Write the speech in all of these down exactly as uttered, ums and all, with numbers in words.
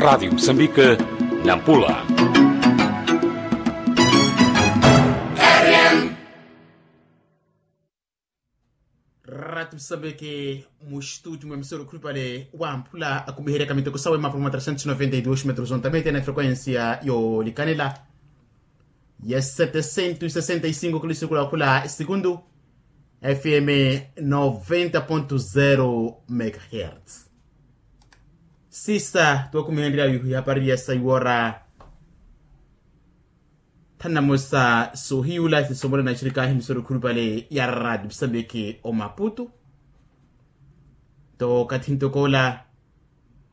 Radi musambika, nampula. Radi musambiki, mustuti mwa emisoro khulupale wamphula akumiheryaka miteko sawe mapuro mwa trecentos noventa e dos metros ontamete na frekuensia yolikanela ya setecento sesenta e cinco kilisukula khula sikundu, fm noventa ponto zero megahertz. Sisa tuwakumihenrya yuhu ihapari ya saiwora thanamosa sohiyula sisomole na shirika ahimisoro khulupale ya radi musambiki omaputu. Nto kathi ntokola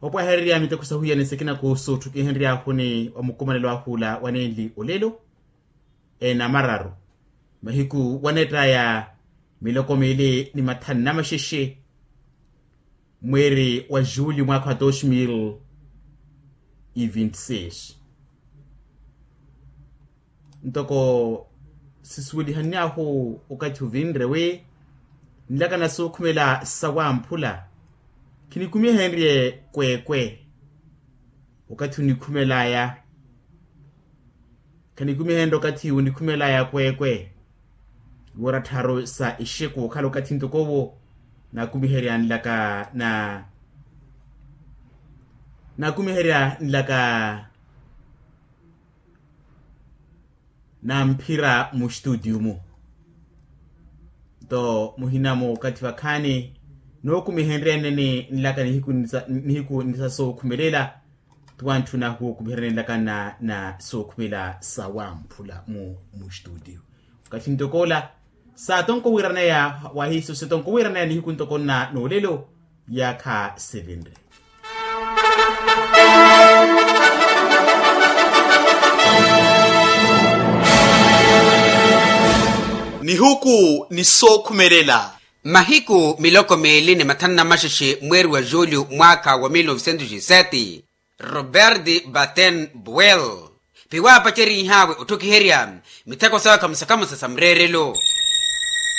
opwahererya miteko sahuya ni sikina kuhusu ttukihenryahuni wa mukumanelo ahula wa nenli olelo. Ena mararu mahiku wanettaya miloko mili ni mathanu na maxexe mweeri wa julio mwaakha wa dos mil e vinti seis. Ntoko sisuwelihanyahu okathi ovinre wi nlaka na sookhumela sawamphula. Khinikumihenrye kwekwe okathi onikhumelaya. Khanikumihenrye okathi onikhumelaya kwekwe. Iwora tharu sa ixeku okhala okathi ntoko owo nakumiherya nlaka na nakumiherya nlaka namphira mustutiyu-mu. Nto muhina-mu okathi vakhaani nookumihenryani nlaka nihiku nisa- nihiku nisa sookhumelela. Ti wantthuna huwo okumiherya nlaka na na sookhumela sawamphula mu mustutiyu. Okathi ntokoola saatonko wiiraneya wahiiso sitonko wiiraneya nihiku ntoko nna noolelo. Yaakha sevenre. Nihuku ni sookhumelela. Mahiku miloko miili ni mathanu na maxexe mweeri wa julio mwaakha wa mil novecentos e sete, robert batten buel piwaapacerihawe otthokiherya mitheko sawe khamusa khamusa sa mureerelo.